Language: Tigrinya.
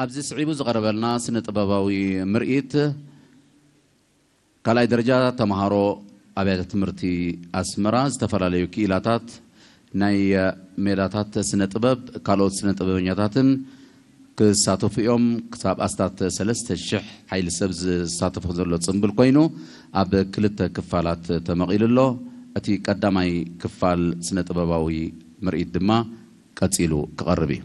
ኣብዚ ስዒቡ ዝቐረበልና ስነ ጥበባዊ ምርኢት ካልኣይ ደረጃ ተምሃሮ ኣብያተ ትምህርቲ ኣስመራ ዝተፈላለዩ ክኢላታት ናይ ሜላታት ስነ ጥበብ ካልኦት ስነ ጥበበኛታትን ክሳተፉ እዮም። ክሳብ ኣስታት ሰለስተ ሽሕ ሓይሊ ሰብ ዝሳተፎ ዘሎ ጽምብል ኮይኑ ኣብ ክልተ ክፋላት ተመቒሉ ኣሎ። እቲ ቀዳማይ ክፋል ስነ ጥበባዊ ምርኢት ድማ ቀጺሉ ክቐርብ እዩ።